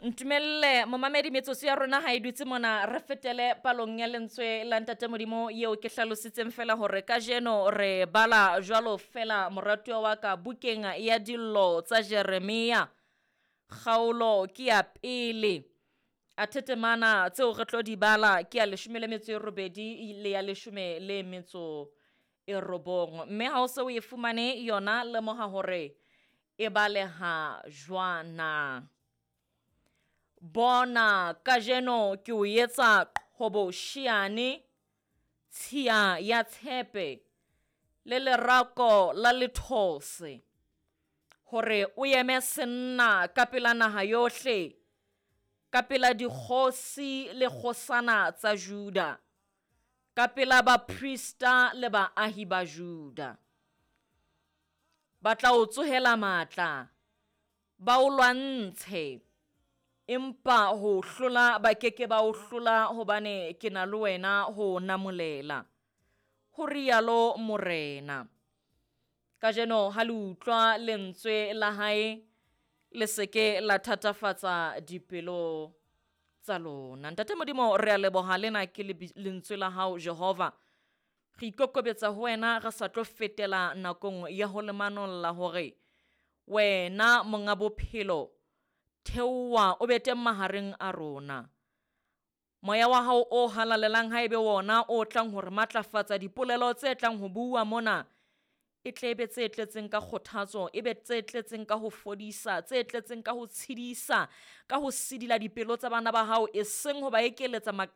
Ntumelle momamedi metsotso ya rona ha e dutse mona re fetele palong ya lentswe la Ntate Modimo yeo ke hlalositseng fela hore kajeno re bala jwalo fela moratuwa wa ka bukeng ya dillo tsa Jeremia. Kgaolo ke ya pele. Athe temana tseo re tlo di bala ke ya 18 le ya 19. Mme ha o se o e fumane yona lemoha hore e baleha jwana. Bona, kajeno ke o etsa qhobosheane, tshiya ya tshepe, le lerako la lethose, hore o eme senna ka pela naha yohle, ka pela dikgosi le kgosana tsa Juda, ka pela baprista le baahi ba Juda. Ba tla o tsohela matla, ba o lwantshe, empa ho o hlola ba ke ke ba o hlola hobane ke na le wena ho o namolela, ho rialo Morena. Kajeno ha le utlwa lentswe la hae, le se ke la thatafatsa dipelo tsa lona. Ntate Modimo, re a leboha lena ke lentswe la hao Jehova. Re ikokobetsa ho wena re sa tlo fetela nakong ya ho le manolla hore wena monga bophelo theoha o be teng mahareng a rona. Moya wa hao o halalelang ha ebe wona o tlang hore matlafatsa dipolelo tse tlang ho bua mona e tle be tse tletseng ka kgothatso, e be tse tletseng ka ho fodisa, tse tletseng ka ho tshedisa, ka ho sidila dipelo tsa bana ba hao, e seng ho ba ekeletsa.